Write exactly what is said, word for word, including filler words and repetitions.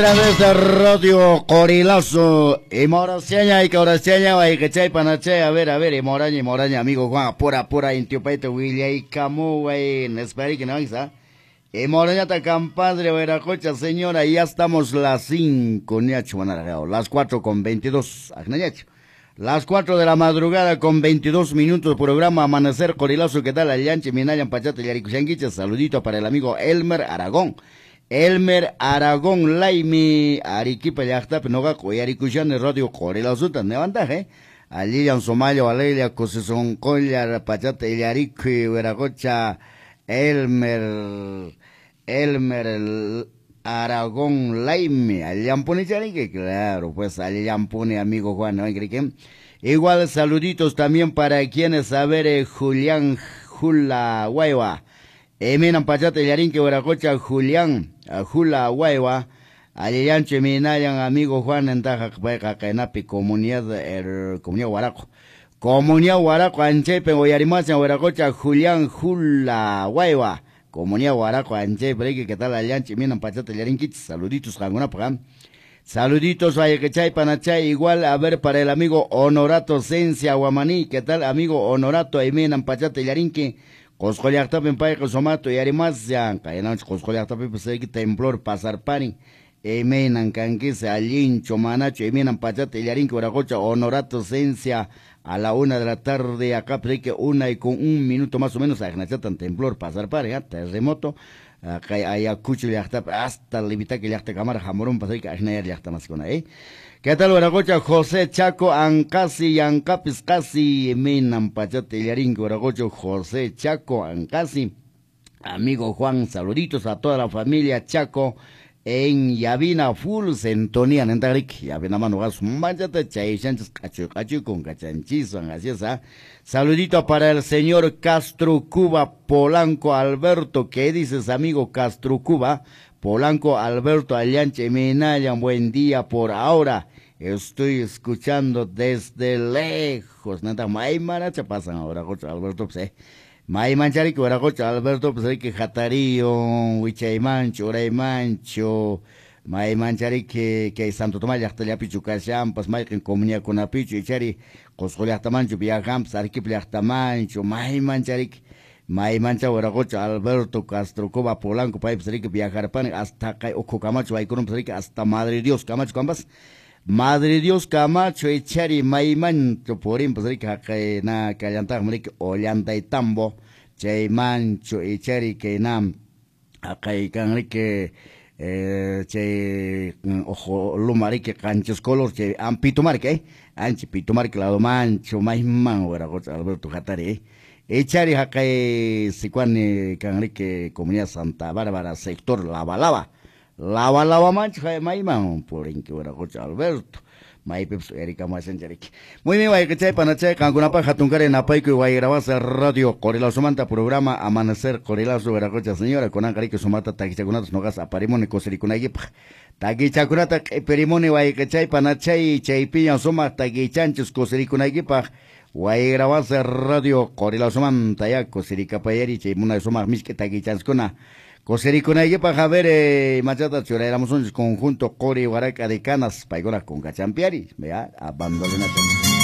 Través de Radio Qorilazo y Moraseña y Coraseña y Chay Panachay, a ver, a ver, y Moraña y Moraña, amigo Juan, pura, pura, Intiupaita, Willa y Camu, güey, Nesperik, ¿no? Y Morañata, compadre, Veracocha, señora, ya estamos las cinco, ñacho, las cuatro con veintidós, las cuatro de la madrugada con veintidós minutos, programa Amanecer Qorilazo, ¿qué tal? Allanche, Minayan, Pachata, Yaricushanguicha, saludito para el amigo Elmer Aragón. Elmer Aragón Laimi, Arequipa llaqtapi noqaqa uyarikushani Radio Qorilazuta levantaq, eh? Allillan sumallo alegria kusisonqolla pachata illarikuy wiraqocha Elmer Elmer Aragón Laimi, allanpuni charinki, claro, pues allanpuni amigo Juan, ¿no? Igual saluditos también para quienes, a ver, eh, Julián Jula Guaywa. Eminan pachata illarinki wiraqocha Julián Jula Guaywa, allillanchu minayan amigo Juan entaja payqa qaynapi comunidad er, comunidad Huaraco. Comunidad Huaraco anchaypi uyarimasan wiraqocha Julián Jula Guaywa. Comunidad Huaraco anchaypi, ¿qué tal allanchu minan pachata illarinkichis? Saluditos qankunapaq. Saluditos ayquechay panachay, igual a ver para el amigo Honorato Cencia Guamaní, ¿qué tal amigo Honorato? Eminan pachata illarinki. Qosqo llaqtapin payqa sumato yarimasyan, qaynanchik Qosqo llaqtapipas temblor pasarparin, imaynan kankis allinchu manachu, imaynan pachata illarinki wiraqocha Honorato Cencia a la una de la tarde, acá que una y con un minuto más o menos, aqnachatan temblor pasarparin, terremoto, kay Ayacucho llaqtapi hasta Livitaqui llaqtakamara hamurunpas aqnayar llaqtamasikuna, eh. ¿Qué tal, wiraqocha José Chaco Ancasi, Yancapis casi, minan pachata illarinki wiraqocha José Chaco Ancasi? Amigo Juan, saluditos a toda la familia Chaco en Yavina full sintonía, nentarik, Yavina mano gas manchata chayshanchis cachu cachu con cachanchisan, así es, ¿ah? Saludito para el señor Castro Cuba Polanco Alberto, ¿qué dices, amigo Castro Cuba? Polanco Alberto Allanche Minayan, buen día por ahora. Estoy escuchando desde lejos. Nada, maymaracha pasan ahora, Alberto, pues, eh. Maymancharik, wiraqucha Alberto, pues, que jatarío, wichaymancho, uraymancho, maymancharik, que Santo Tomás llaqtallapichu kashanpas, mayqin comunidadkunapichu, ichari Qusqu llaqtamanchu viajanpas, Arequipa llaqtamanchu, maymancharik. Maymancha wiraqocha Alberto Castro Cuba Polanco paypas riki viajarpani hasta kay ukhu Camacho aykurunpas riki hasta Madre Dios Camacho kampas Madre Dios Camacho ichari maymancho purinpas riki haqay na kallantaqmi riki Ollantaytambo chaymancho ichari kay na haqay kan riki eh, chay ojo luma riki qanchis color chay ampitumarki eh anchi pitumarki lado mancho mayman wiraqocha Alberto hatari eh. Echari haqay sicuani kanriki comunidad Santa Bárbara sector Lava Lava Lava Lava mancho mayman purinki wiraqocha Alberto maypipas uyarikamuwashanchariki. Muy bien, wayqichay panachay qankunapaq hatunkari napaykuy wayrawasa Radio Qorilazomanta programa Amanecer Qorilazo wiraqocha señora kunanqa riki sumata takichakunatas noqas aparimuni kusirikunaykipaq takichakunata q'ipirimuni wayqichay panachay chaypiña sumaq takichanchis kusirikunaykipaq Wayrawasa Radio Qorilazomanta ya kusirikapayari chay munay sumaq misk'i takichanskuna kusirikunaykipaq a ver eh, machata churayramusunchis conjunto Qori Huaraca de Canas paykuna kunkachampiari vea abandolenata.